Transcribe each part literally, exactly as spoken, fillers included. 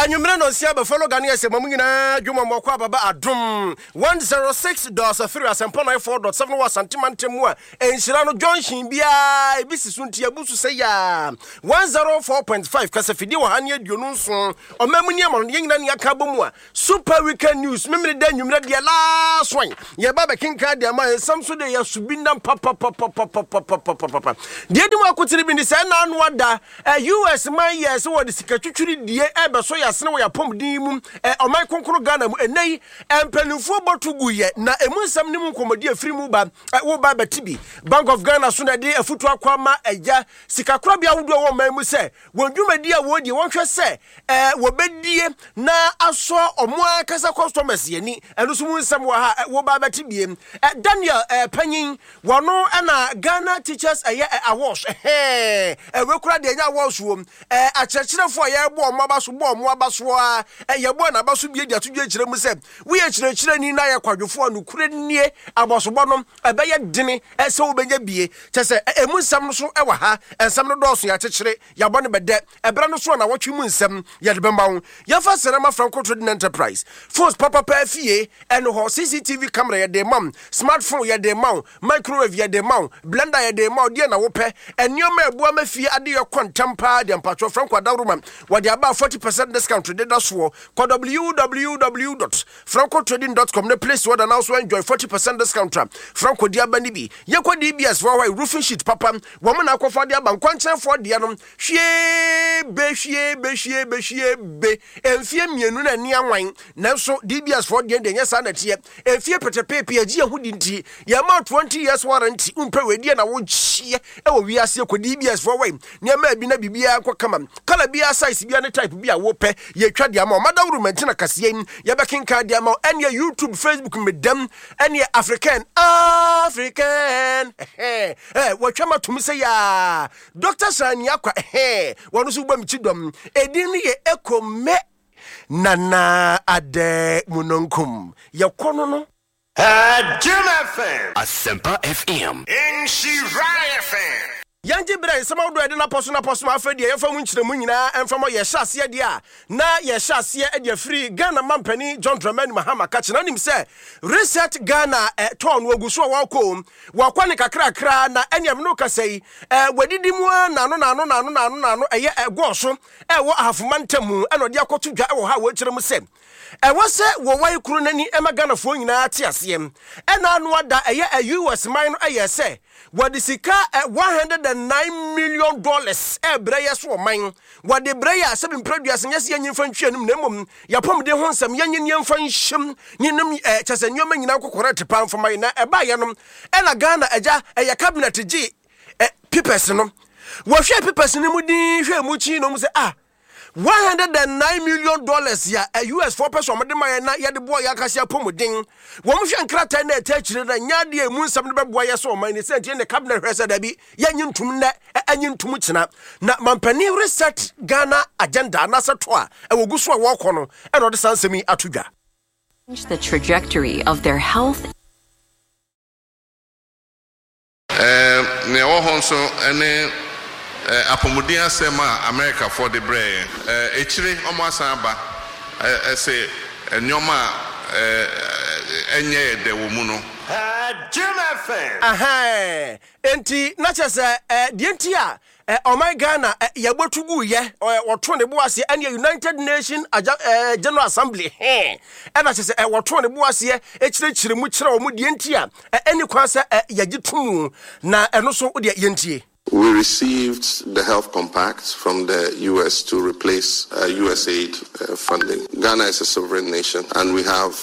Anwummerɛ no nsia bɛfɛlo Ghanaian sɛ ma mu nyinaa dwuma mmɔkɔ ababa Adom one oh six point three, Asɛmpa ninety-four point seven wɔ Asantema ntam mu a ɛnhyira no junction biara ebi si so, nti abu so sɛ yaa one oh four point five kasafidie wɔ ha ne aduonu nson. Ɔma mu nneɛma no yɛn nyinaa ne aka bɔ mu a Super Weekend News memene da anwummerɛ deɛ last one yɛba bɛkenka deɛ ma nsɛm so deɛ yɛso bi nam papapapapapapapapa. Deɛ di mu akotene bi ne sɛ ɛna ano ada U S man yɛ sɛ wɔde sika twitwiri die ɛbɛso yɛ asene wɔ yɛapɔmuden mu ɔman kronkron Ghana mu. Ɛnɛ yi mpanimfoɔ bɔto gu yɛ na ɛmu nsɛm ne mu nkɔmmɔdi afiri mu ba woba bɛte bi. Bank of Ghana so na ɛde afutu akɔ ama agya sikakorabea ahodoɔ wɔ ɔman mu sɛ wɔn dwumadi a wɔredie, wɔnhwɛ sɛ ɛɛ wɔbɛdie na asɔ ɔmo ankasa customers yɛni. Ɛno nso mu nsɛm wɔ ha, woba bɛte bie. Ɛ Daniel ɛɛ panyin wɔno ɛna Ghana Teachers ɛyɛ ɛ awards ɛhɛn ɛwɛ kura deɛ ɛnyɛ awards wɔ ɛɛ akyerɛkyerɛfoɔ a yɛrebɔ ɔmo aba so, bɔ ɔmo aba so a yɛbɔ n'aba so bie de ato dwa kyerɛ mu sɛ woyɛ kyerɛkyerɛni na yɛ kwadwofoɔ a nokure nie abɔsobɔ no ɛbɛyɛ dene ɛsɛ wobɛnya bie kyɛ sɛ ɛmu nsɛm no so ɛwɔ ha. Nsɛm no dɔɔso, yɛakyekyere yɛabɔ no bɛdɛ ɛberɛ no so a na wɔtwe mu nsɛm yɛde bɛma wo. Yɛmfa sɛnɛma Franco Trading Enterprise phones papapa fie ɛno hɔ, C C T V camera yɛde ma wo, smartphone yɛde ma wo, microwave yɛde ma wo, blender yɛde ma wo. Deɛ na wopɛ nneɛma ɛboa ma fie ade yɛ kɔ ntɛm paa deɛ, mpatwɔ Franco Adaworoma wɔde aba forty percent discount deda soɔ. Kɔ W W W dot francotrading dot com ne place order now so enjoy forty percent discount a Franco di aba ni bi. Yɛkɔ D B S foɔ hɔ, roofing sheet papa wɔn na akɔfa de aba. Nkwankyɛnfoɔ deɛ no hwie be hwie be hwie be hwie be mfie mmienu na ani anwan, nanso D B S foɔ deɛ deɛ nyɛ saa na teɛ. Mfie pɛtɛpɛɛpɛ agye ɛho di nti yɛma twenty years warranty. Wompɛ wɔ na wokyeɛ ɛwɔ wiase kɔ D B S foɔ wɔ nneɛma bi na biribiara nkɔ kama, colour biara, size biara ne type bi a wopɛ, yɛtwa de ama ɔmadaworo mantina kaseɛ yi yɛbɛkenkan de ama. Ɛneɛ YouTube, Facebook medam ɛneɛ African African ɛhɛn ɛ wɔtwa ma tom sɛ yaa Doctor Sani Akwa ɛhɛn wɔn nso bɔ mi kyi dɔm. Edin no yɛ Ekome Nana Adɛ Munonkum yɛkɔ no no. Jim F M. Asempa F M. Nhyira F M. Yɛngye berɛ nsɛm ahodoɔ a yɛde napɔ so napɔ so ma afei deɛ yɛmfa mu nkyerɛmu nyinaa ɛmfa mɔ. Yɛhyɛ aseɛ deɛ a na yɛhyɛ aseɛ de afiri Ghana mampani John Dramani Mahama ka kyerɛ nim sɛ Reset Ghana tɔn no ogu so a wɔkɔ wɔkɔ ne kakrakra na ɛnea mene kasa yi wɔadidi mu a nano nano nano nano nano ɛyɛ ɛgɔɔ so ɛwɔ Ahafoma ntam ɛna ɔde akɔto dwa ɛwɔ ha a wɔkyerɛ mu sɛ ɛwɔ sɛ wɔwae kuro n'ani ɛma Ghanafoɔ nyinaa te aseɛ. Ɛna ano ada ɛyɛ U S man no ɛyɛ sɛ wɔde sika one hundred and nine million dollars ɛbrɛ yɛ so ɔman wɔde brɛ yɛ asɛbi mprɛduase nyɛ sɛ yɛnyi mfa ntwi anim na mmom yɛpɔmuden ho nsɛm yɛnyi nneɛmfa nhyɛm ne nom kyɛ sɛ nneɛma nyinaa nkɔkɔrɔ te pa mfama yi. Na ɛbaayɛ no ɛna Ghana agya ɛyɛ cabinet gye papers no, wɔhwɛ papers no mu din hwɛ mu kyi no mu sɛ ah, one hundred and nine million dollars ya U S foɔ pɛ sɛ ɔmode ma yɛn na yɛde boa yɛ akase apɔmuden. Wɔn hwɛ nkrataa na ɛtɛ akyire na nyɛ adeɛ emu nsɛm no bɛboa yɛ sɛ ɔman ne sɛ nti ne cabinet hwɛ sɛ dabi, yɛnyi ntum nnɛ, ɛnyi ntum kyena. Na mampanin Reset Ghana agenda anaasɛ to a ɛwɔ gu so a wɔrekɔ no ɛna ɔde saa nsɛm yi ato dwa. The trajectory of their health. Nea ɛwɔ hɔ nso ne apɔmuden asɛm a Amerikafoɔ de brɛɛ yɛn. Akyire ɔmo asan aba ɛsɛ nneɛma a ɛnyɛ yɛ dɛ wɔ mu no. Jim F M. Ahɛn enti na kyerɛ sɛ deɛ nti a ɔman Ghana yɛbɔtu gu yɛ wɔto ne bo aseɛ ɛne United Nation General Assembly hɛn ɛna kyerɛ sɛ wɔto ne bo aseɛ kyerɛkyerɛ mu kyerɛ wɔn deɛ nti a ɛne kwan sɛ yɛgye to mu na ɛno so deɛ yɛntie. We received the health compact from the U S to replace uh, U S AID uh, funding. Ghana is a sovereign nation and we have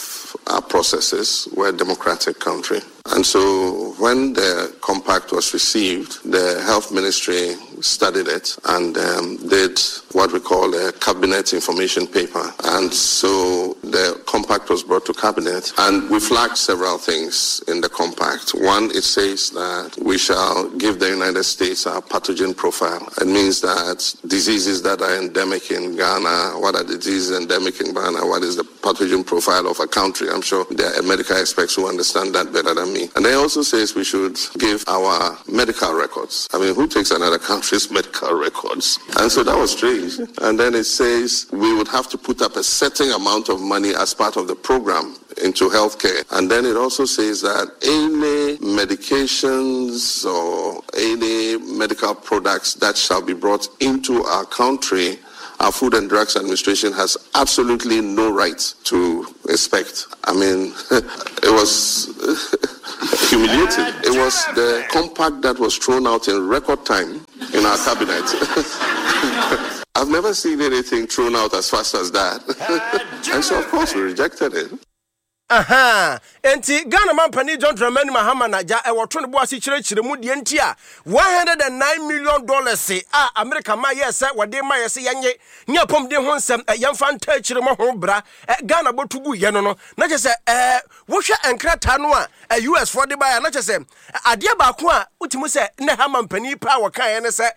our processes. We're a democratic country. And so when the compact was received, the health ministry studied it and um, did what we call a cabinet information paper. And so The compact was brought to cabinet, and we flagged several things in the compact. One, it says that we shall give the United States our pathogen profile. It means that diseases that are endemic in Ghana, what are the diseases endemic in Ghana, what is the pathogen profile of a country? I'm sure there are medical experts who understand that better than me. And it also says we should give our medical records. I mean, who takes another country's medical records? And so that was strange. And then it says we would have to put up a certain amount of money as part of the program into healthcare. And then it also says that any medications or any medical products that shall be brought into our country, our Food and Drugs Administration has absolutely no right to inspect. I mean, it was humiliating. It was the compact that was thrown out in record time in our cabinet. I've never seen anything thrown out as fast as that. And so, of course, we rejected it. Aha, enti Ghana mampanin John Dramani Mahama na gya ɛwɔ to ne bo ase kyerɛkyerɛ mu deɛ nti a one hundred and nine million dollars a America ma yɛ sɛ wɔde ma yɛ sɛ yɛnye ne apɔmuden ho nsɛm, yɛmfa nta akyire mo ho bra Ghana bɔto gu yɛ no no na kyerɛ sɛ ɛɛ wohwɛ nkrataa no a U S foɔ de baeɛ, na kyerɛ sɛ adeɛ baako a wotumi sɛ ne ha mampanin paa wɔkaeɛ ne sɛ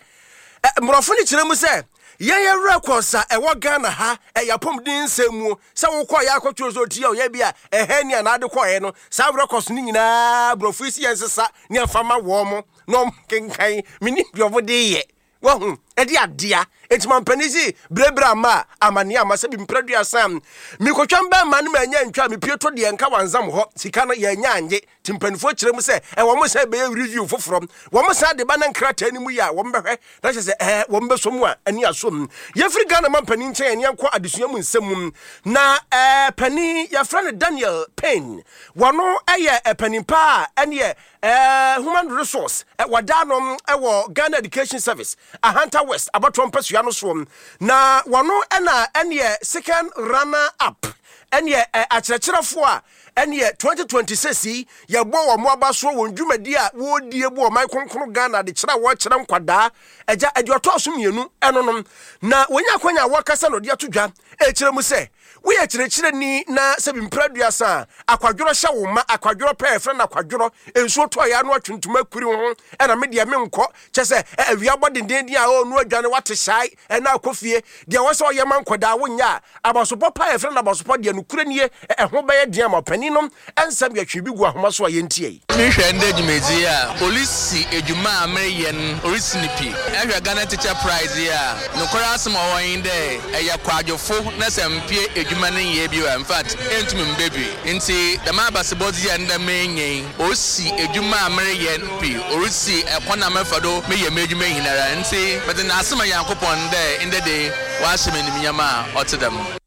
mmorɔfo no kyerɛ mu sɛ yɛyɛ records a ɛwɔ Ghana ha, ɛyɛ apɔmuden nsɛm mu sɛ wokɔ yɛ akɔtwerɛ sɛ ɔti a ɔyɛ bi a ɛhɛ ni anaa de kɔɛ no, saa records no nyinaa borɔfo yi si yɛn sesa ne ɛmfa ma wɔn mo na ɔmo kenkan mene deɛ ɔmo de yɛ wahu ɛde adea. Enti mampanin si berebere ama a amanneɛ ama sɛ bi mprɛduasa mekɔtwa mbɛma no manya ntwa mepie to deɛ nka wansam hɔ sika no yɛnya anye. Nti mpanimfoɔ kyerɛ mu sɛ ɛwɔ mo sɛ bɛyɛ review foforɔ, wɔn san de ba na nkrataa no mu yi a wɔn bɛhwɛ na kyerɛ sɛ ɛɛ wɔn bɛsɔ mu a ani aso mu. Yɛfiri Ghana ma mpanin nkyɛn, yɛn nkɔ adesua mu nsɛm mu na ɛɛ panin yɛfrɛ no Daniel Payne, wɔno ɛyɛ ɛpanin paa a ɛneɛ ɛɛ human resource wɔda no ɛwɔ Ghana Education Service Ahanta West abatoɔ mpasua no soɔ, na wɔno ɛna ɛneɛ second runner up ɛneɛ akyerɛkyerɛfoɔ a ɛneɛ twenty twenty-six yi yɛbɔ wɔn mo aba soɔ wɔn dwumadi a wɔredie bu ɔman kronkron Ghana de kyerɛ a wɔrekyerɛ nkwadaa agya ɛdeɛ ɔtɔɔ so mmienu ɛno nom. Na wɔnya akwanya a wɔrekasa na ɔde ato dwa ɛkyerɛ mu sɛ woyɛ kyerɛkyerɛni na sɛ bimpira aduasa a akwadworɔ hyɛ wo ma akwadworɔ pɛɛ frɛ no akwadworɔ nsuo tɔ yɛ ano atwentoma akuri ho ɛna me deɛ menkɔ kyɛ sɛ awia bɔ dendenden a ɔnu adwane wate hyae ɛna akɔ fie deɛ wɔ sɛ ɔyɛ ma nkɔdaa wonyɛ a abasopɔ pa yɛfrɛ no abasopɔ deɛ nokorɛ nie, ɛho bɛyɛ den ama ɔpanin nom. Ɛnsɛm yɛtwe bi gu ahoma so a yɛntie yi. Mehwɛ ndɛ dwumadzi a polisi edwuma a mereyɛ no orisi ne pi. Ɛhwɛ Ghana Teacher Prize yi a nokware asɛm a ɔwɔ yi dɛ ɛyɛ kwadwofo na sɛ mpie edwuma no nyɛ bi a, in fact, ɛntumi mba bi. Nti dɛm abasebɔdze a ndɛ menya yi osi edwuma a mereyɛ no pi, orisi ɛkwan a mɛfa do meyɛ m'edwuma nyinara. Nti mede n'asɛm a Nyankopɔn dɛ ndɛ de wahyɛ me animuonyam a ɔte dɛm.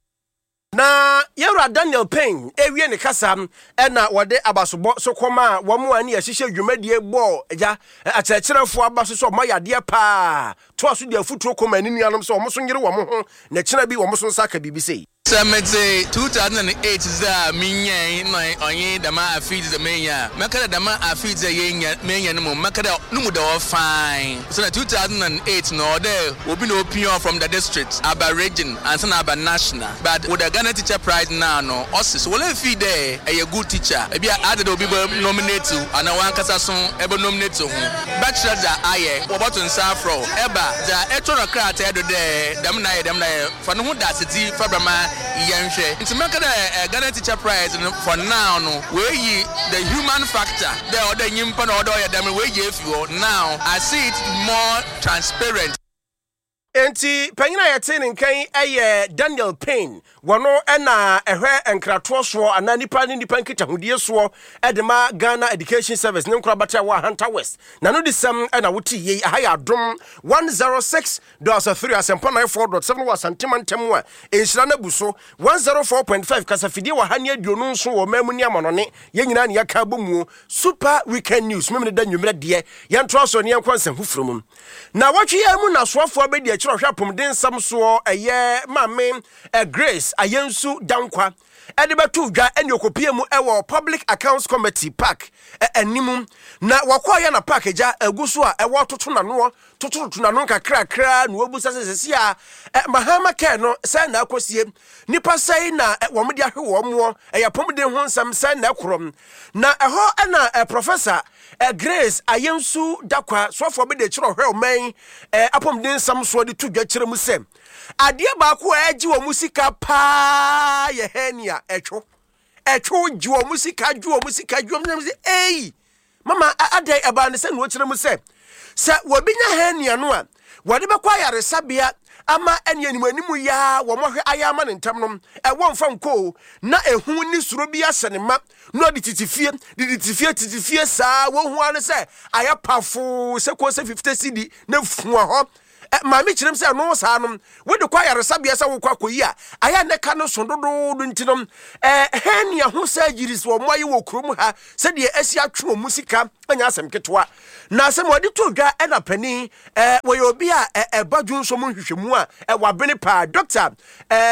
Na yɛwura Daniel Payne ewie ne kasa ɛna wɔde abasobɔ so kɔma a wɔn a ne yɛhyehyɛ dwumadie bɔɔ agya akyerɛkyerɛfoɔ aba so sɛ ɔmo ayɛ adeɛ paa toa so de afutuo kɔma ne nuanom sɛ ɔmo so nyere wɔn ho na kyena bi wɔn so nsa aka biribi sei. Sɛ mede two thousand and eight dze a menyae na ɔnye dɛm afe dze menya a, mɛka dɛ dɛm afe dze a yɛnya menya no mu, mɛka dɛ no mu da hɔ fine. So na two thousand and eight no ɔdɛ obi na opia from the district aba region ansa na aba national, but with the Ghana Teacher Prize now no ɔse so wɔlɛ fi dɛ ɛyɛ good teacher ebi a ade dɛ obi bɛ nominate wo anaa wankasa so ɛbɛ nominate ho bɛkyerɛ dza ayɛ wɔbɔto nsa afrɛ wo ɛba dza ɛtɔ no krataa do dɛ dɛm na ayɛ dɛm na ayɛ fa no ho da asedzi fa brama yɛnhwɛ. Nti mɛka dɛ eh, Ghana Teacher Prize no for now no wɔayi the human factor dɛ ɔdɛ nyimpa na ɔdɛ ɔyɛ dɛm no wɔayi afi hɔ. Now I see it more transparent. Enti panyin a yɛte ne nkan yɛ Daniel Payne, wɔno ɛna ɛhwɛ nkratoɔ soɔ anaa nipa ne nipa nkitahodie soɔ ɛde ma Ghana Education Service ne nkorabata a wɔ Ahanta West na no de sɛm ɛna wote yei. Aha yɛ Adom one oh six point three, Asɛmpa ninety-four point seven wɔ Asantema ntɛm a nhyira no abu so one oh four point five kasafidie wɔ ha ne aduonu nso wɔ ɔman mu ne amanɔne. Yɛn nyinaa ne yɛka abɔ muo Super Weekend News memene da nnwummerɛ deɛ yɛntoa so ne yɛnkɔ nsɛm foforɔ mu. Na wɔtwe yɛn mu na asoafoɔ bɛdi akyerɛ. kyerɛ ɔhwɛ apɔmuden nsɛm soɔ, ɛyɛ Maame Grace Ayensu Dankwa, ɛde bɛto dwa ɛne okopie mu ɛwɔ Public Accounts Committee, PAC, anim. Na wɔkɔɔyɛ na PAC agya agu so a ɛwɔ toto nanoɔ tototo nano nkakrakra na wɔbusa sɛ sɛsi a Mahama Care no sɛ na akɔsie nipa sɛi na wɔn de ahwe wɔn moɔ, ɛyɛ apɔmuden ho nsɛm sɛ na ɛkorɔ. Na ɛhɔ ɛna Professor Grace Ayensu Dakwa, soafoɔ bi de kyerɛ ɔhwɛ ɔman apɔmuden nsɛm soɔ, de to dwa kyerɛ mu sɛ adeɛ baako a ɛgye wɔn sika paa yɛ hernia. Ɛtwo ɛtwo gye wɔn sika, gye wɔn sika, gye wɔn sika. Eyi mama adan ɛbaa ne sɛ na wɔkyerɛ mu sɛ sɛ wɔbi nya hernia no a, wɔde bɛkɔ ayaresabea ama ɛne anim anim yaa wɔn ahwɛ ayɛ ama ne ntam no, ɛwɔ nfa nko na ehu ne suro bi ahyɛ ne ma na ɔde tete fie de tete fie tete fie saa. Wɔn ho ano sɛ ayɛ pafo sɛ kɔ sɛ fifty cedi na fua hɔ. Maame kyerɛm sɛ ɛno saa no, wode kɔ ayaresabea sɛ wokɔ akɔyi a, ayɛ ne ka no so dodoodo. Nti no hernia ho surgeries wɔ mo ayɛ wɔ kurom ha sɛdeɛ asi atwe wɔ mu sika anya asɛm ketewa. Na asɛm wɔde to dwa, ɛna panin wɔyɛ obi a ɛba dwonso mu nhwehwɛmu a wabene paa, Doctor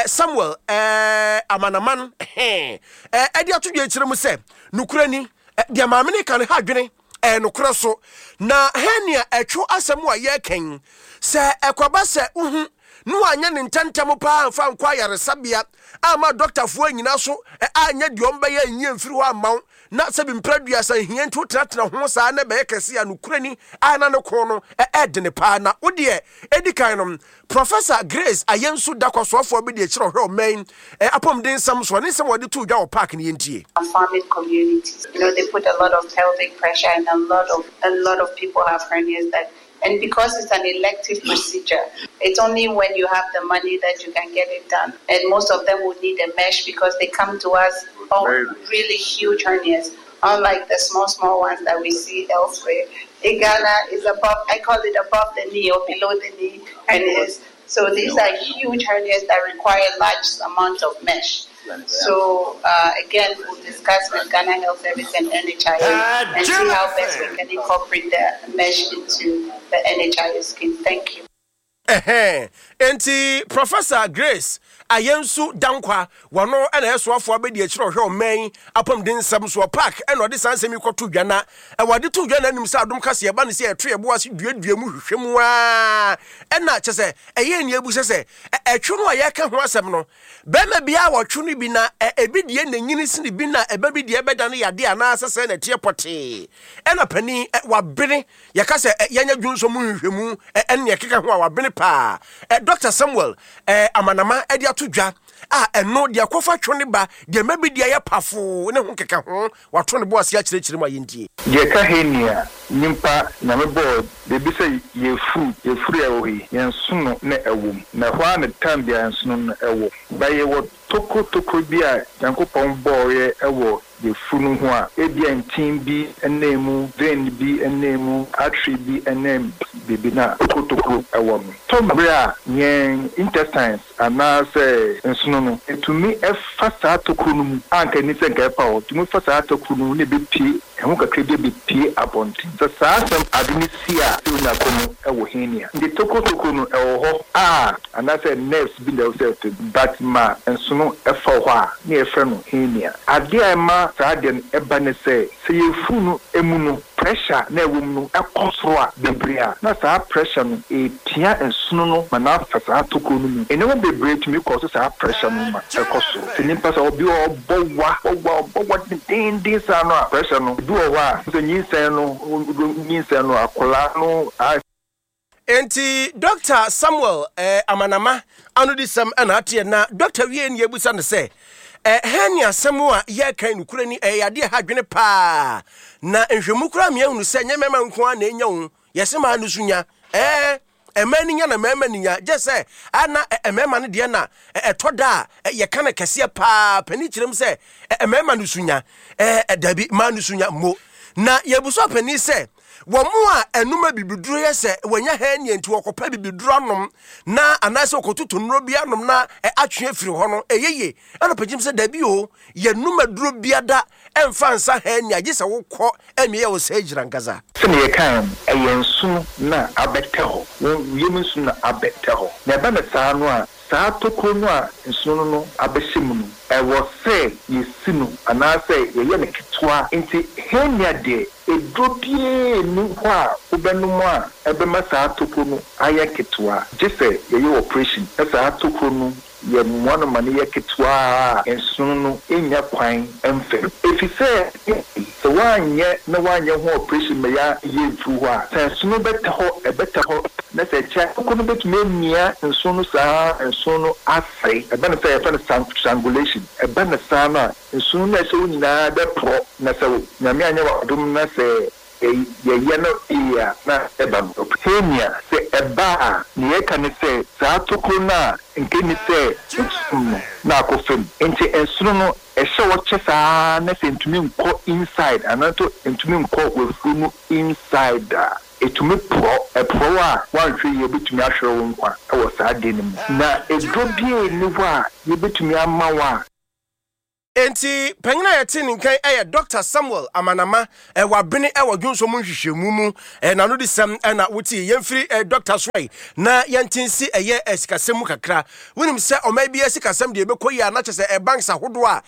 Samuel Amanaman, ɛde ato dwa kyerɛ mu sɛ nokorɛ ni, deɛ maame ne ka no ha adwene, ɛyɛ nokorɛ so. Na hernia ɛtwo asɛm a yɛrekɛn sɛ ɛkɔba sɛ wohu ne wanyɛ ne ntɛntɛm paa mfa nkɔ ayaresabea ama dɔktafoɔ nyina so anyɛ deɛ ɔmbɛyɛ nyie mfiri hɔ ama wo, na sɛbi mpra duasa hia nti wotenatena ho saa na ɛbɛyɛ kɛse a, nokorɛ ni a na ne ko no ɛɛdene paa. Na wodeɛ ɛdi kan no, Professor Grace Ayensu Dakwasoafoɔ bi de akyerɛ ɔhwɛ ɔman apɔmuden nsɛm so ne nsɛm wɔde to dwa wɔ PAC no, yɛntie. Farming communities, you know, they put a lot of pelvic pressure, and a lot of a lot of people have hernias that, and because it's an elective procedure, it's only when you have the money that you can get it done. And most of them would need a mesh because they come to us all really huge hernias, unlike the small, small ones that we see elsewhere. In Ghana is above, I call it above the knee or below the knee hernias. So these are huge hernias that require large amount of mesh. So uh, again, we'll discuss with Ghana Health Service and N H I S and see how best we can incorporate the mesh into the N H I S scheme. Thank you. Ɛhɛn, nti Professor Grace Ayensu Dankwa wɔno ɛna ɛsoafoɔ abɛdi akyerɛ ɔhwɛ ɔman apɔmuden nsɛm soɔ, PAC, ɛna ɔde saa nsɛm yi kɔto dwa. Na ɛwɔde to dwa n'anim sɛ Adom kase ɛba ne sɛ ɛto yɛbo ase duadua mu hwehwɛ mu aa, ɛna kyɛ sɛ ɛyɛ ni ebu sɛ sɛ ɛtwo no a yɛka ho asɛm no, bɛrima biara wɔtwo no bi na ebi deɛ n'anyini sini bi na ɛbɛ bi deɛ ɛbɛda no yadeɛ anaasɛ sɛ na ɛteɛ pɔtee. Ɛna panin wabene yɛka sɛ yɛnyɛ dwonso mu nhwehwɛmu ɛne ɛkeka ho a, wabene paa, Doctor Samuel Amanama ɛde ato dwa a, ɛno deɛ kɔfa two ne ba deɛ mɛbi deɛ yɛ pafo ne ho keka ho, wato ne bo ase akyerɛkyerɛ mu a, yɛntie. Deɛ ka hernia, nyimpa Nyame bɔɔ beebi sɛ yɛfuru yɛfuru a ɛwɔ hɔ yi, yɛn nsono na ɛwɔ mu, na ɛhɔ ara ne time biara nsono no ɛwɔ ba. Yɛwɔ tokuro tokuro bi a Nyankopɔn bɔɔyɛ ɛwɔ yɛfuru no ho a, ebia ntin bi nam mu, vein bi nam mu, artery bi nam biribi na tokuro tokuro ɛwɔ no. Tɔ mbere a yɛn intestines anaasɛ nsono no etumi ɛfa saa tokuro no mu a, nka ni sɛ nka ɛfa hɔ, tumi fa saa tokuro no mu na ebepie ɛho kakra bi ebepie abɔnten. Sɛ saa asɛm ade no si a, sɛ onya kɔ no ɛwɔ hernia. Nti tokuro tokuro no ɛwɔ hɔ a, anaasɛ nerves bi na ɛwɔ sɛ ɛfɛ but ma nsono ɛfa hɔ a, ne yɛfrɛ no hernia. Adeɛ a ɛma saa adeɛ no ɛba ne sɛ sɛ yɛfuru no emu no, pressure na ɛwɔ mu no ɛkɔ soro a bebree a, na saa pressure no epia nsono no ma n'afa saa tokuro no mu. Nneɛma bebree tumi kɔ so saa pressure no ma ɛkɔ soro. Sɛ nipa sɛ ɔbi ɔbɔ wa ɔbɔ wa ɔbɔ wa dendenden saa no a, pressure no ebi wɔ hɔ a, sɛ nyinsɛn no nyinsɛn no akwadaa no a. Enti Doctor Samuel eh, Amanama anodisɛm ɛna ateɛ. Na Doctor wie ne yɛbusa no sɛ eh, hernia asɛm a yɛka nokora ni, ɛyɛ adeɛ ha adwene paa, na nhwɛmu koraa mmeahunu sɛ nyɛ mmarima nko a na ɛnya wo, yɛsɛ maa no so nya ɛɛ mmaa ni nya na mmarima ni nya, gye sɛ ana mmarima no deɛ na ɛtɔ da a yɛka no kɛseɛ paa. Panin kyerɛm sɛ mmarima no so nya ɛɛ dabi, mmaa no so nya mo. Na yɛbusa panin sɛ Wɔn a ɛnum abibiduro yɛ sɛ wɔnya hernia nti wɔkɔpɛ bibiduro anom na anaasɛ wɔkɔtoto nnuro bi anom na atwe afiri hɔ no, ɛyɛ yie. Ɛna ɔpanyin sɛ dabi o, yɛnum aduro biada ɛmfa nsa hernia, gye sɛ wokɔ ɛmia yɛ wo surgery ankasa. Sɛnea yɛkae no, ɛyɛ nsono na abɛtɛ hɔ, wɔn yam nsono na abɛtɛ hɔ. Na ɛba no saa no a, saa tokuro no a nsono no abɛhyɛ mu no, ɛwɔ sɛ yɛsi no anaasɛ yɛyɛ no ketewa. Nti hernia deɛ, eduro biara nni hɔ a wobɛnom a ɛbɛma saa tokuro no ayɛ ketewa, gye sɛ yɛyɛ operation na saa tokuro no yɛmmoa no ma no yɛ ketewa a nsono no nya kwan mfam. Ɛfiri sɛ sɛ woanyɛ na woanyɛ ho operation ma yɛayɛ mfiri hɔ a, sɛ nsono bɛtɛ hɔ, ɛbɛtɛ hɔ, na sɛ ɛkyɛ tokuro no bɛtumi amia nsono no saa, nsono no asɛe. Ɛba no sɛ yɛfrɛ no strangulation. Ɛba no saa no a, nsono no a ɛhyɛ wo nyinaa bɛporɔ, na sɛ Nyame anyɛ w'adom na sɛ yɛyɛ no yie a, na ɛba no. Hernia, sɛ ɛba a, nea yɛka ne sɛ saa tokuro no a nka ni sɛ nsono no na akɔ fam. Nti nsono no ɛhyɛ hɔ kyɛ saa na sɛ ntumi nkɔ inside anaasɛ ntumi nkɔ wafuru no inside a, ɛtumi porɔ. Ɛporɔ a, woanhwɛ yie wobɛtumi ahwere wo nkwa ɛwɔ saa adeɛ no mu. Na eduro biara nni hɔ a yɛbɛtumi ama wo a. Enti panyin a yɛte ne nkan ɛyɛ Doctor Samuel Amanama, ɛwɔ abene ɛwɔ dwonso mu nhwehwɛmu mu. Ɛna de sɛm ɛna wote yɛmfiri ɛ Doctor so yi na yɛnte nsi ɛyɛ sikasɛm mu kakra. Wonim sɛ ɔman bi sikasɛm deɛ ɛbɛkɔ yi a, na kyerɛ sɛ banks ahodoɔ a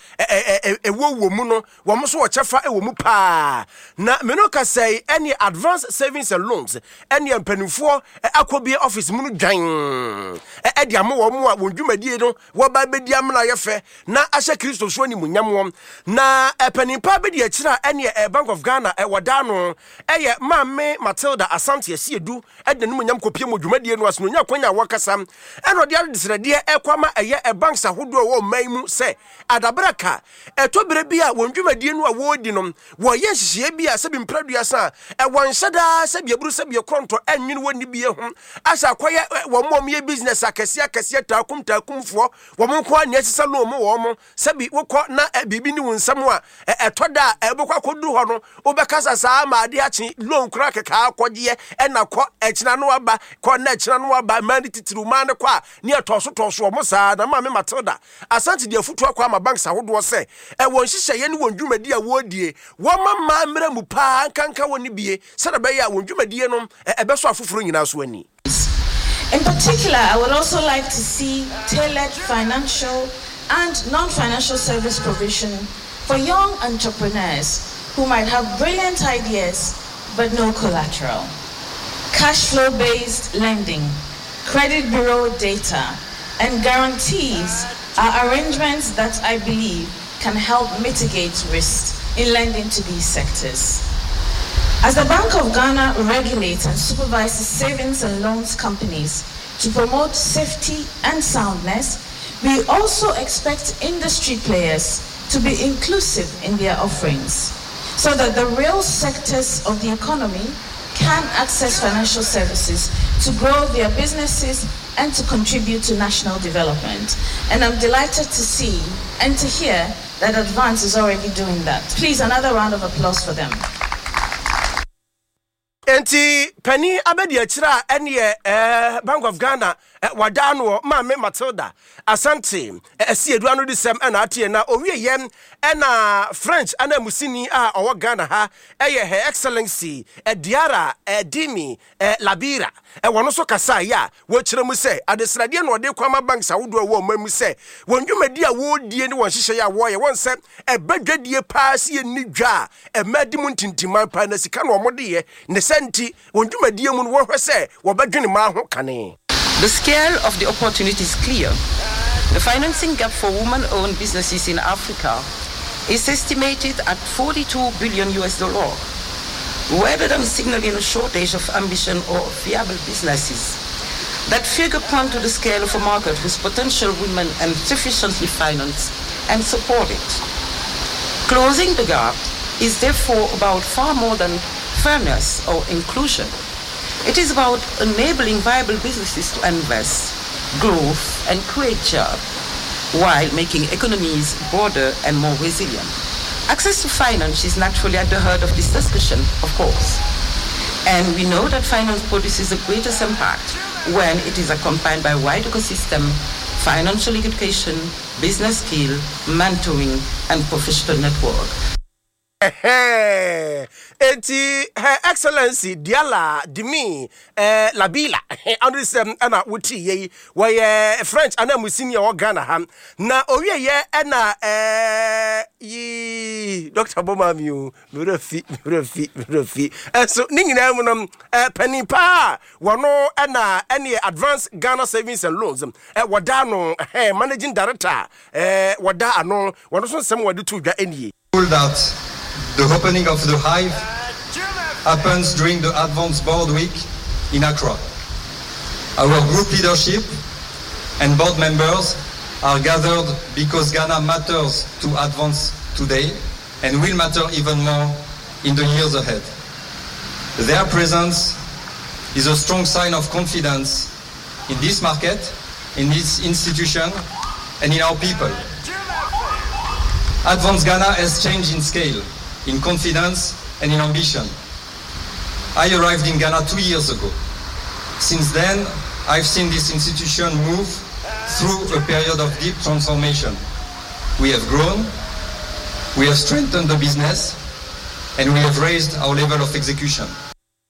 ɛwɔ wɔ mu no, wɔn nso wɔ kyɛfa ɛwɔ mu paa. Na mene kasa yi, ɛne Advance Savings and Loans ɛne mpanimfoɔ akɔbie office mu no dwan ɛde ama wɔn a wɔn dwumadie no wɔba bɛdi amena yɛ fɛ na ahyɛ Kristo so animuonyam wɔn. Na panimpa bi di akyire a ɛne Bank of Ghana ɛwɔ da no ɛyɛ Maame Matilda Asante Asiedu ɛde n'animuonyam kɔpie mu dwumadie no ase na onya kwan a wɔkasa ɛna ɔde adesrɛdeɛ ɛkɔ ama ɛyɛ banks ahodoɔ ɛwɔ ɔman mu sɛ adabraka ɛtɔ berɛ bi a wɔn dwumadie no a wɔredi no wɔyɛ nhyehyɛeɛ bi a sɛbi mprɛduasa a ɛwɔ nhyɛ daa sɛbi aburu sɛbi ɛkorɔntɔ ɛnwene wɔ nni bie ho asɛ akɔyɛ wɔn a wɔyɛ business akɛseɛ akɛseɛ taakum taakumfoɔ wɔn nko ara nea ɛsesa loan mu wɔn mo sɛbi wokɔ na biribi ne wo nsɛm a ɛtɔ da a ɛbɛkɔ akɔduru hɔ no wobɛkasa saa ma ade akye loan kora kɛkɛ akɔgyeɛ ɛna kɔ ɛkyina no aba kɔ na ɛkyina no aba mmaa ne titiriw mmaa ne kɔ a ne ɛtɔɔso tɔɔso wɔn saa. Na Maame Matilda Asante de afutu akɔ ama banks ahodoɔ sɛ ɛwɔ nhyehyɛeɛ ne wɔn dwumadi a wɔredie wɔma mmaa mmerɛ mu paa nkanka wɔ ne bie sɛdeɛ ɛbɛyɛ a wɔn dwumadie no ɛbɛsɔ afoforɔ nyinaa so ani. In particular, I would also like to see tailored financial and non-financial service provision for young entrepreneurs who might have brilliant ideas but no collateral. Cash flow-based lending, credit bureau data, and guarantees are arrangements that I believe can help mitigate risk in lending to these sectors. As the Bank of Ghana regulates and supervises savings and loans companies to promote safety and soundness, we also expect industry players to be inclusive in their offerings so that the real sectors of the economy can access financial services to grow their businesses and to contribute to national development. And I'm delighted to see and to hear that Advance is already doing that. Please, another round of applause for them. Enti panin abɛdi akyire a ɛneɛ ɛɛ Bank of Ghana wada no Maame Matilda Asante Asiedu ano de sɛm ɛna ateɛ. Na owie yɛm ɛna French anamusini a ɔwɔ Ghana ha ɛyɛ Her Excellency Diarra Dimi Labira ɛwɔ no so kasa yɛ a wɔkyerɛ mu sɛ adesradeɛ na ɔde kɔ ama banks ahodoɔ a ɛwɔ ɔman mu sɛ wɔn dwumadi a wɔredie ne wɔn nhyehyɛeɛ a wɔreyɛ wɔn sɛ ɛbɛ dwadie paa si yɛ ni dwa a ɛmɛ di mu ntintiman paa na sika na wɔn de yɛ ne sɛ nti wɔn dwumadie mu no wɔhwɛ sɛ wɔbɛdwene mmaa ho kane. The scale of the opportunity is clear. The financing gap for women-owned businesses in Africa is estimated at forty-two billion U S dollar. Rather than signaling a shortage of ambition or viable businesses, that figure points to the scale of a market whose potential women are sufficiently financed and supported. Closing the gap is therefore about far more than fairness or inclusion. It is about enabling viable businesses to invest, growth, and create jobs, while making economies broader and more resilient. Access to finance is naturally at the heart of this discussion, of course. And we know that finance produces the greatest impact when it is accompanied by wide ecosystem, financial education, business skill, mentoring, and professional network. Ɛhɛɛ, enti Her Excellency Diala Dimi eh, Labila ano sɛm ɛna wotii yɛ yi, wɔyɛ French ananmusini a ɔwɔ Ghana ha. Na owieɛ ɛna eh, yii Doctor bɔ mi o, me werɛ fi, me werɛ fi, me werɛ fi. Ɛnso ne nyinaa mu no, eh, panin paa wɔno ɛna ɛneɛ Advance Ghana Savings and Loans eh, wɔda ano, eh, managing director eh, wɔda ano, wɔno nso nsɛm wɔde to dwa nie. That the opening of the Hive happens during the Advance Board Week in Accra. Our group leadership and board members are gathered because Ghana matters to Advance today and will matter even more in the years ahead. Their presence is a strong sign of confidence in this market, in this institution, and in our people. Advance Ghana has changed in scale, in confidence, and in ambition. I arrived in Ghana two years ago. Since then, I've seen this institution move through a period of deep transformation. We have grown, we have strengthened the business, and we have raised our level of execution.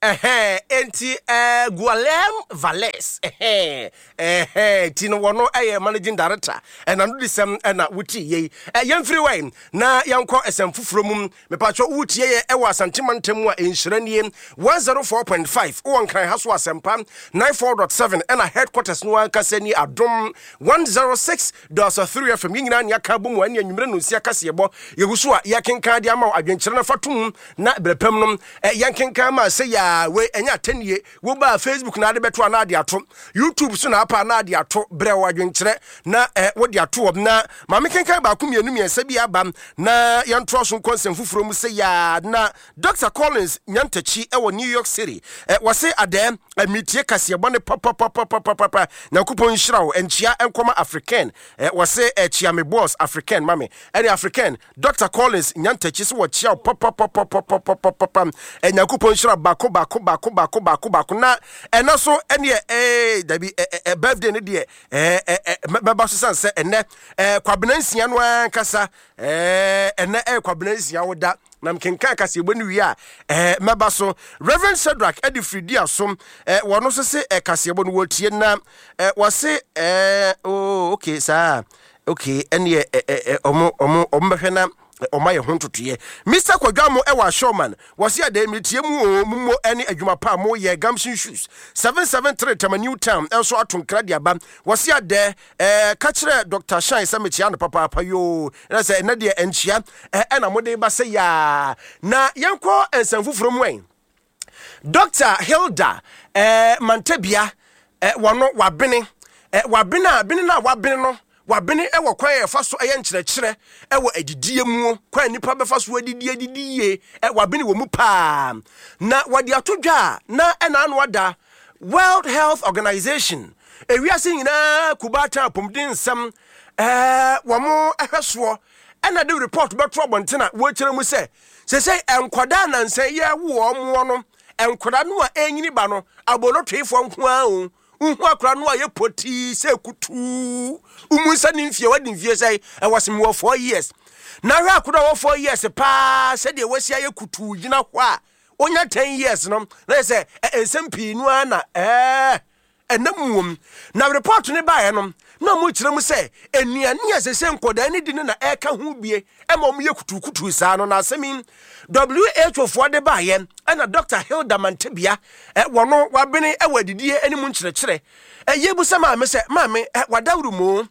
Ɛhɛn, enti ɛɛ Guillaume Valles, ɛhɛn, ɛhɛn, ti no wɔno ɛyɛ managing director, ɛna no de sɛm ɛna wotie yei. Ɛ yɛmfiri wɛn na yɛnkɔ ɛsɛm foforɔ mu. Mepatwɛ wotie yɛ ɛwɔ Asante mantam mu a nhyira nie one oh four point five, wowɔ Nkran ha so Asɛmpa ninety-four point seven, ɛna headquarters no ankasa ni Adom one oh six point three F M. Yɛn nyinaa ne aka bɔ mu ɛne anwummerɛ no nsia kaseɛbɔ yɛgu so a yɛkenkan de ama wo. Adwenkyerɛ no fa tom na berɛ pam no yɛnkenkan ma sɛ yɛ wei ɛnyɛ atɛnie. Wobaa Facebook na ade bɛto anaa ade ato YouTube so na apa anaa ade ato, berɛ wɔ adwenkyerɛ na eh, wode ato wɔ na maame kenkan baako mmienu mmiɛnsa bi aba na yɛntoa so nkɔ nsɛm foforɔ mu sɛ yɛa. Na Doctor Collins Nyantakyi ɛwɔ New York City, eh, wɔse adɛɛ metie kaseɛbɔ ne papapapapapa, Nyankopɔn nhyira wo. Nkyia nkɔma African, eh, wɔse eh, kyia me boss African ma me. Ɛne African Doctor Collins Nyantakyi sɛ wɔkyia wo papapapapapapa, Nyankopɔn nhyira baako baako baako baako baako baako. Na ɛna so ɛneɛ ɛɛ dabi, ɛ birthday ne deɛ ɛɛ ɛ mɛba so san sɛ ɛnɛ ɛɛ Kwabena nsia no ankasa, ɛɛ ɛnɛ ɛyɛ Kwabena nsia wo da na mkenkan kaseɛbɔ no wie a ɛɛ mɛba so. Reverend Shadrach ɛde firi asom, ɛɛ wɔn nso se ɛ kaseɛbɔ no wɔtie na ɛ wɔse ɛɛ oh, okay, saa, okay, ɛneɛ ɛ ɛ ɔmo ɔmo ɔmo bɛhwɛ na ɔma yɛ ho ntotoeɛ. Mister Kwadwamo ɛwɔ Ashoman, wɔse adɛ metie mu o, mumo ɛne adwuma pa a moyɛ. Gamson Shoes seven seven three Tama New Town ɛnso ato nkra de aba, wɔse adɛ ɛɛ ka kyerɛ Doctor Shine sɛ mekyia no papaapa yoo. Ɛna sɛ ɛnɛ deɛ ɛnkyia ɛna mode ba sɛ yaa na yɛnkɔ nsɛm foforɔ mu. Ɛn Doctor Hilda ɛɛ Mantabia, ɛɛ wɔno wabene, ɛɛ wabene a bene no a wabene no, wabene wɔ kwan a yɛfa so ɛyɛ nkyerɛkyerɛ ɛwɔ adidie mu, kwan a nipa bɛfa so adidi adidi yie. Ɛ wabene wɔ mu paa na wɔde ato dwa a na ɛna ano ada World Health Organization, ewiase nyinaa kubaatan apɔmuden nsɛm ɛɛ wɔn ɛhwɛ soɔ, ɛna de report bɛto abɔnten a wɔrekyerɛ mu sɛ sɛsɛ nkwadaa nansa yi ɛwo wɔn no, nkwadaa no a ɛnyini ba no abolotoefoɔ nko ara o. Wohu akora no a yɛ potii sɛ kutuu womu nsa ne mfie wadi mfie sɛ ɛwɔ sɛ mewɔ four years na hwɛ akora a wɔ four years paa sɛdeɛ wasi ayɛ kutuu gyina hɔ a onya ten years no na yɛ sɛ nsɛm pii no ara na ɛɛ ɛnam wom. Na report ne baeɛ no na ɔmo kyerɛ mu sɛ nnuane a sɛ sɛ nkɔdaa ne di no na ɛka ho bie ɛma ɔmo yɛ kutukutu saa no. Na asɛm yi W H O foɔ de baeɛ ɛna Doctor Hilda Mantebea ɛ wɔno wabene ɛwɔ adidie anim nkyerɛkyerɛ ɛyɛ bu sɛ maame sɛ maame ɛ wadawuro mu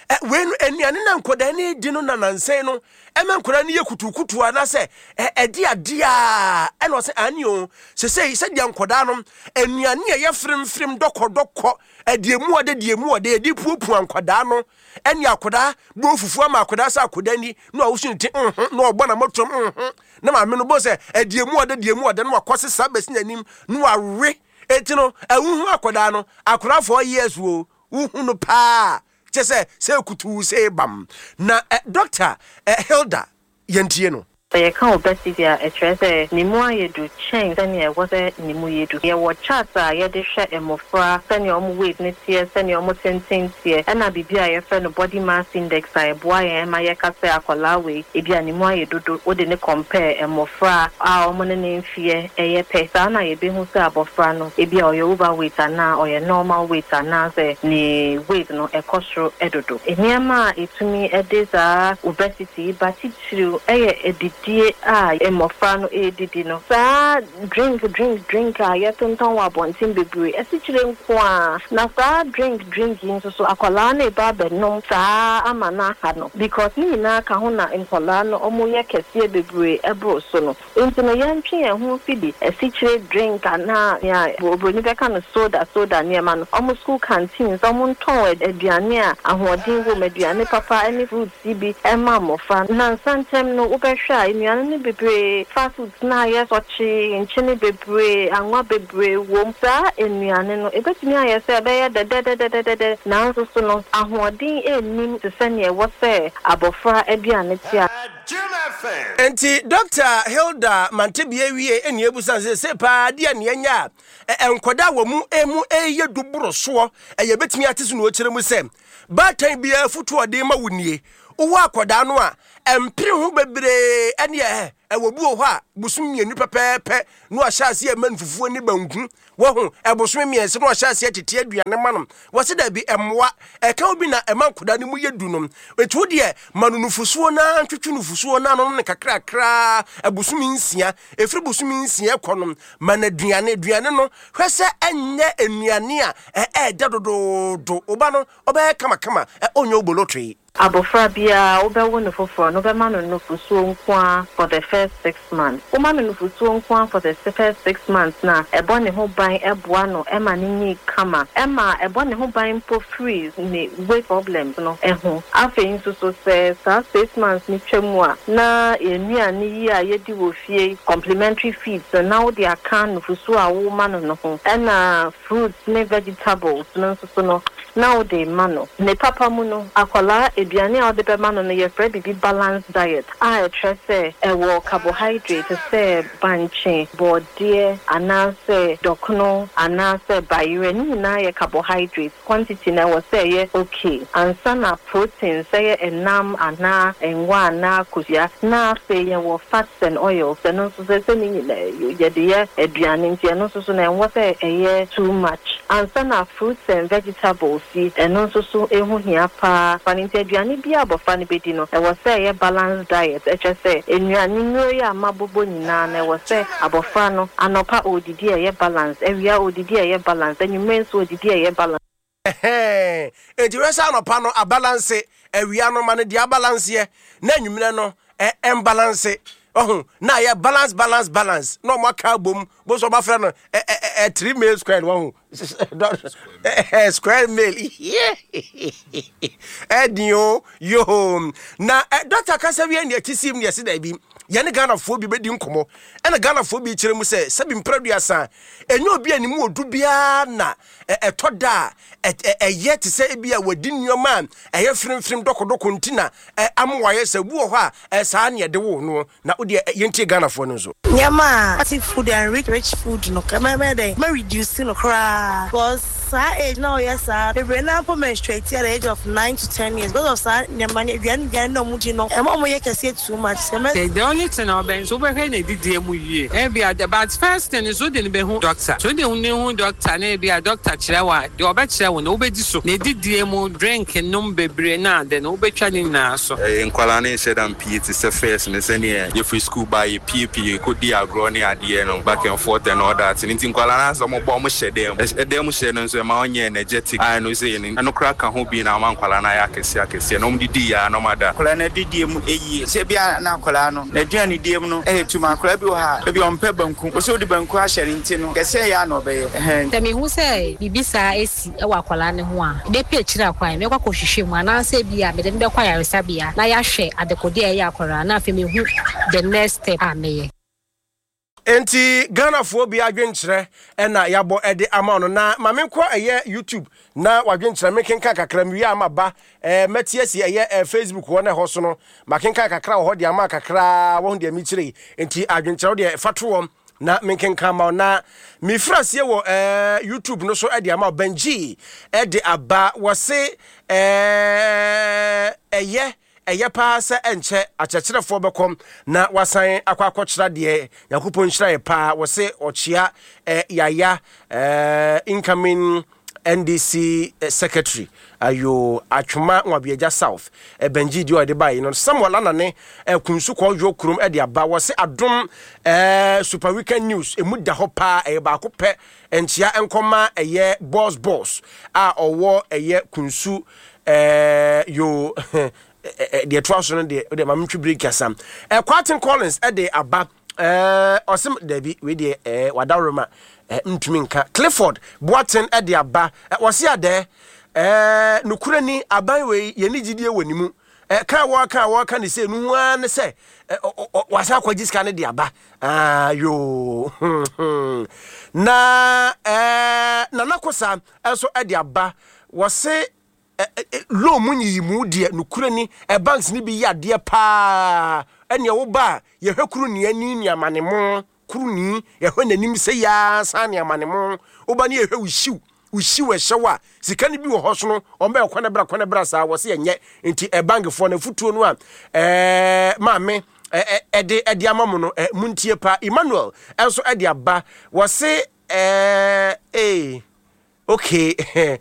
ɛ wei no nnuane na nkɔdaa ne di no na nansɛn no ɛma nkɔdaa no yɛ kutukutu anaasɛ ɛ ɛde adeɛ a ɛna ɔsɛ ani o sɛsɛ sɛdeɛ nkɔdaa no nnuane a ɛyɛ fremfrem dɔkɔdɔkɔ, ɛdeɛ mu ɔde deɛ mu ɔde ɛde puapua nkɔdaa no, ɛne akɔdaa bɔ fufuo ama akɔdaa sɛ akɔdaa ni na ɔwoso ne ti nhun na ɔbɔ na mɔtɔm nhun na maame no bɔ sɛ ɛdeɛ mu ɔde deɛ mu ɔde na wakɔ sesa bɛsi n'anim na wawe. Eti no ɛhuhu akɔdaa no, akɔdaa four years wo wohu no paa kyɛ sɛ sɛ kutuu sɛ bam na ɛ Doctor ɛ Hilda, yɛntie no. Sɛ yɛka obesity a, ɛkyerɛ sɛ ne mu ayɛ du kyɛn sɛnea ɛwɔ sɛ ne mu yɛ du. Yɛwɔ chart a yɛde hwɛ mmɔfra sɛnea ɔmo weight ne teɛ, sɛnea ɔmo tenten teɛ, ɛna biribi a yɛfrɛ no body mass index a ɛboa yɛn ma yɛka sɛ akwadaa wei ebi a ne mu ayɛ dodo, wode ne compare mmɔfra a ɔmo ne ne mfeɛ ɛyɛ pɛ. Saa na yɛbɛhu sɛ abɔfra no ebi a ɔyɛ overweight anaa ɔyɛ normal weight anaasɛ ne weight no ɛkɔ soro ɛdodo. Nneɛma a ɛtumi ɛde saa obesity ba titiriw ɛyɛ adidie a mmɔfra no ɛredidi no. Saa drink drink drink a yɛtontɔn wɔ abɔnten bebree, ɛsikyire nko a, na saa drink drink yi nso so akwadaa no eba abɛnom saa ama no aha no, because ne nyinaa ka ho na nkwadaa no ɔmo yɛ kɛseɛ bebree ɛboro so no. Nti no yɛntwe yɛn ho fi asikyire drink anaa nea oburoni bɛka no soda soda nneɛma no. Ɔmo school canteens, ɔmo ntɔn aduane a ahoɔden wɔ mu, aduane papa ɛne fruits yi bi ɛma mmɔfra. Nansa ntɛm no wobɛhwɛ a, nnuane no bebree, fast foods na ayɛ sɔkye, nkyene bebree, anwa bebree wɔ mu. Saa nnuane no ebetumi ayɛ sɛ ɛbɛyɛ dɛdɛdɛdɛdɛdɛ, nanso so no ahoɔden nnim te sɛ nea ɛwɔ sɛ abɔfra aduane te a. Nti Doctor Hilda Mantebea wie ɛne ebusa sɛ sɛ paa deɛ nea nya a nkwadaa wɔ mu emu ɛyɛ du boro soɔ ɛyɛ bɛtumi ate so na ɔkyerɛ mu sɛ baatan biara foto ɔde ma wo nie. Wowɔ akwadaa no a ɛmpere ho bebree, ɛne ɛ ɛwɔ bi wɔ hɔ a bosom mmienu pɛpɛɛpɛ na wahyɛ aseɛ ɛma no fufuo ne banku wɔho, ɛbosome mmiɛnsa na wahyɛ aseɛ tete aduane ma no. Wɔse daabi, ɛmmoa ɛka wo bi na ɛma nkwadaa no mu yɛ du no. Ɛti wo deɛ ma no nufusuo na ntwetwe nufusuo na ano no kakrakraa ɛbosome nsia. Ɛfiri bosome nsia kɔ no, ma no aduane. Aduane no, hwɛ sɛ ɛnyɛ nnuane a ɛɛdɛ dodoodo. Woba no ɔbɛyɛ kamakama, ɔnyɛ obolotoe. Abɔfra biara wobɛwo no foforɔ no, wobɛma no nufusuo nko a for the first six months. Woma no nufusuo nko a for the first six months na ɛbɔ ne ho ban, ɛboa no ɛma ne nyi kama, ɛma ɛbɔ ne ho ban mpo firi ne weight problems no ɛho. Afei nso so sɛ saa six months ne twa mu a, na nnuane yi a yɛdi wɔ fie, complementary feeds no, na wode aka nufusuo a woma no no ho, ɛna fruits ne vegetables no nso so no na wode ma no. Ne papa mu no, akwadaa aduane a wode bɛma no no, yɛfrɛ biribi balance diet a ɛkyerɛ sɛ ɛwɔ carbohydrate sɛ bankye, bɔɔdeɛ anaasɛ dɔkono anaasɛ bayerɛ. Ne nyinaa yɛ carbohydrate. Quantity na ɛwɔ sɛ ɛyɛ okay ansa na protein sɛ yɛ ɛnam anaa ngwa anaa kosua. Na afei yɛwɔ fats and oils. Ɛno nso sɛ sɛ ne nyinaa yɛde yɛ aduane, nti ɛno nso so na ɛnwɔ sɛ ɛyɛ too much ansa na fruits and vegetables yi, ɛno nso so ehu hia paa fa no. Nti aduane bi a abɔfra no bɛdi no, ɛwɔ sɛ ɛyɛ balance diet. Ɛkyerɛ sɛ nnuane nnuro yi a mabobɔ nyinaa no, ɛwɔ sɛ abɔfra no anɔpa odidi a ɛyɛ balance, awia odidi a ɛyɛ balance, anwummerɛ nso odidi a ɛyɛ balance. Ɛhɛn, enti wɛ sɛ anɔpa no abalance, awia no ma no deɛ abalanceɛ, na anwummerɛ no ɛ ɛmbalance ɔho, na ayɛ balance balance balance na ɔmo aka abom bo so ɔbafrɛ no ɛ ɛ ɛ three meal square wɔho, square meal ɛdi o yoo. Na ɛ doctor kasa wie ne akyi sim ne yɛsi daabi, yɛne Ghanafoɔ bi bɛdi nkɔmmɔ, ɛna Ghanafoɔ bi kyerɛ mu sɛ sɛbi mprɛduasa ɛnyɛ obi a ne mu odu biara na ɛtɔ da a ɛyɛ te sɛ ebi a wadi nneɛma a ɛyɛ firimfirim dɔkɔdɔkɔ nti na ama wayɛ sɛ obi wɔ hɔ a ɛsaa ne ɛde wo no. Na wodeɛ yɛntie Ghanafoɔ no nso. Nneɛma a fatty food and rich rich food no, kɛmɛ dɛ mɛ reduce no koraa, because saa age na ɔyɛ saa bebree na mpo menstruate at the age of nine to ten years because of saa nneɛma ne aduane aduane na ɔmo di no, ɛma ɔmo yɛ kɛseɛ too much sɛ. The only thing ɔbɛn so wobɛhwɛ na edidie mu yie ebi a, but first thing is wode ne bɛhu doctor. So wode ne hu doctor na ebi a doctor kyerɛ wo a, deɛ ɔbɛkyerɛ wo no wobɛdi so, na edidie mu, drink nom bebree na ade no wobɛtwa ne nyinaa so. Nkwalaa ne nhyɛ da mpie te sɛ first ne sɛneɛ yɛfiri school ba yɛpiepie kɔdi agorɔ ne adeɛ no back and forth and all that. Nti nkwalaa no asɛ ɔmɔbɔ ɔmo hyɛ dɛm ɛdɛm mu hyɛ no nso ɛma ɔnyɛ energetic a ɛno sɛ ɛno koraa ka ho bi na ama nkwalaa no ayɛ akɛseɛ akɛseɛ na ɔmo didi yɛ a na ɔmo ada. Akwadaa no adidie mu ɛyie sɛ bia na akwadaa no n'aduane die mu no ɛyɛ tum. Akwadaa bi wɔ ha ebi ɔmpɛ banku, wɔsɛ wode banku ahyɛ ne nti no kɛseɛ yɛ a na ɔbɛyɛ ɛhɛn. Sɛ mehu sɛ biribi saa esi wɔ akwadaa no ho a, mɛpɛ akyire akwan, mɛkɔ akɔhwehwɛ mu anaasɛ bi a mede no bɛkɔ ayaresabea na yɛahwɛ adekodeɛ a ɛyɛ akwadaa, na afei mehu the next step a mɛyɛ. Enti Ghanafoɔ bi adwenkyerɛ ɛna yɛabɔ ɛde ama no. Na ma menkɔ ɛyɛ YouTube na wadwenkyerɛ mekenka kakra mewie ama ba ɛɛ mɛte asi ɛyɛ ɛɛ Facebook hɔ na ɛhɔ so no makenka kakra wɔ hɔ de ama kakra wɔn deɛ mekyerɛ yi. Nti adwenkyerɛ deɛ fa to wɔm na menkenka ma wo. Na mefiri aseɛ wɔ ɛɛ YouTube no so ɛde ama wo. Benji ɛde aba, wɔse ɛɛ ɛyɛ ɛyɛ paa sɛ ɛnkyɛ akyerɛkyerɛfoɔ bɛkɔm na wasan akɔ akɔkyerɛ deɛ. Nyankopɔn nhyira yɛ paa. Wɔse ɔkyea eh, yaya eh, incoming N D C eh, secretary ayo Atwoma Nwabiagya South. eh, benji deɛ ɔde baeɛ no, Samuel Anane eh, Kunsu Kɔdwo kurom ɛde aba. Wɔse Adom eh, Super Weekend News ɛmu da hɔ paa, ɛyɛ baako pɛ. Nkyea nkɔma ɛyɛ boss boss a ɔwɔ ɛyɛ Kunsu eh, yo deɛ ɛtoa so no deɛ deɛ maame ntwi break asam. Ɛ Kwaten Collins ɛde aba, ɛɛ ɔsɛm dabi wei deɛ ɛɛ wadaworo ɛɛ ntumi nka. Clifford Boaten ɛde aba, ɛ wɔsi adɛ ɛɛ nukura ni aban wei yɛn ni gyidie wɔ ne mu. Ɛ kan wɔka wɔka ne sɛ nuhu ara ne sɛ ɛ ɔ ɔ wasan akɔgye sika ne de aba. Aa yoo, na ɛɛ Nana Kosa ɛnso ɛde aba, wɔse loan mu nyiyimu deɛ nukura ni ɛ banks ni bi yɛ adeɛ paa. Ɛnea woba a yɛhwɛ kuru ni ani ni amane mo kuru ni yɛhwɛ n'anim sɛ yaa san ne amane mo woba ne yɛhwɛ wo hyiw wo hyiw ɛhyɛw a sika no bi wɔ hɔ so no ɔmbɛyɛ kwan bra kwan bra saa. Wɔ se ɛnyɛ nti ɛ bankfoɔ no afutuo no a ɛɛ maame ɛde ɛde ama mo no, ɛ muntie pa. Emmanuel ɛnso ɛde aba, wɔse ɛɛ ee okay.